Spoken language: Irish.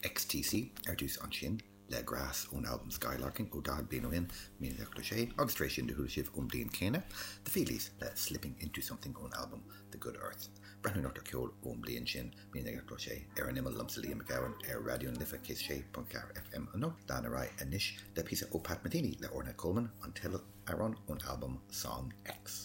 XTC ar dtús ansin le Grass ón albam Skylarking ó 40 bliain ó shin, 1986, agus tar éis sin do chuala sibh ón mbliain chéanna, The Feelies le Slipping Into Something ón albam The Good Earth. Breathnú anocht ar cheol ón mbliain sin, 1986, ar an imeall liomsa Liam Mac Gabhann ar Raidió na Life 106.4 FM anocht. Lean ar aghaidh anois le píosa ó Pat Metheny le Ornette Coleman, an teideal amhrán ón albam Song X.